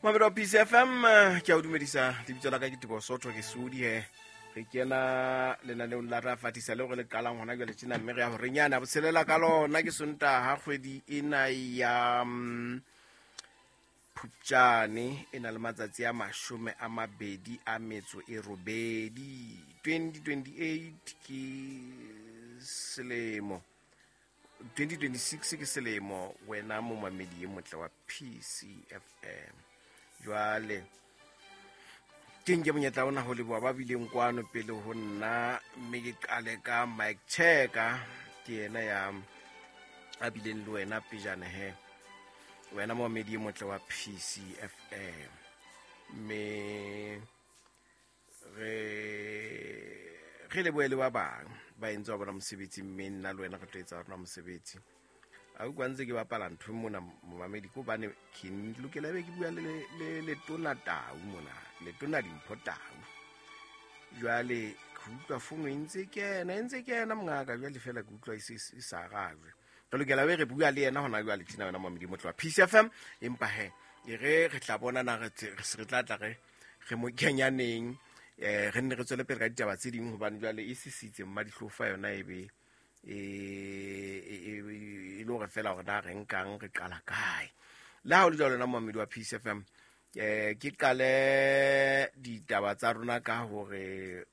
Mamedi wa PCFM, ke a o dumedisa. Lebitso la ka ke Teboho Sotho, ke Sodi he. Re kena lenaneong la Ra Fatisa leo re le qalang hona jwale tjena, mme re ya horeng yana botshelela ka lona. Ke Sontaha, kgwedi ena ya Phupjane e na le matsatsi a 28, 2028 ke selemo, 2026 ke selemo. Wena momamedi e motle wa PCFM, jwale ke nke monyetla ona ho leboha ba bileng kwano pele ho nna, mme ke qale ka Mike Cheka. Ke yena ya a bileng le wena pejana he, wena momamedi e motle wa PCFM. Mme re lebohe le ba bang ba entse wa bona mosebetsi, mme nna le wena re tlo etsa rona mosebetsi. A utlwa ntse ke bapala ntho mona, momamedi, ke hobane ke lokela ebe ke bua le Letona Tau mona, Letona Dimpho Tau. Jwale ke utlwa fono e ntse kena, e ntse kena, mongaka. Jwale fela ke utlwa e e sa arajwe. Re lokela be re bua le yena hona jwale tjena, wena momamedi motle wa Peace FM. Empa he, e re re tla bona na re se re tla tla re mo kenyaneng, re nne re tswele pele ka ditaba tse ding, hobane jwale e sisitse mmadihlofa yona, e be e le hore fela hore na re nkang re qala kae. Le ha o le jwalo, na momamedi wa Peace FM, ke qale ditaba tsa rona ka hore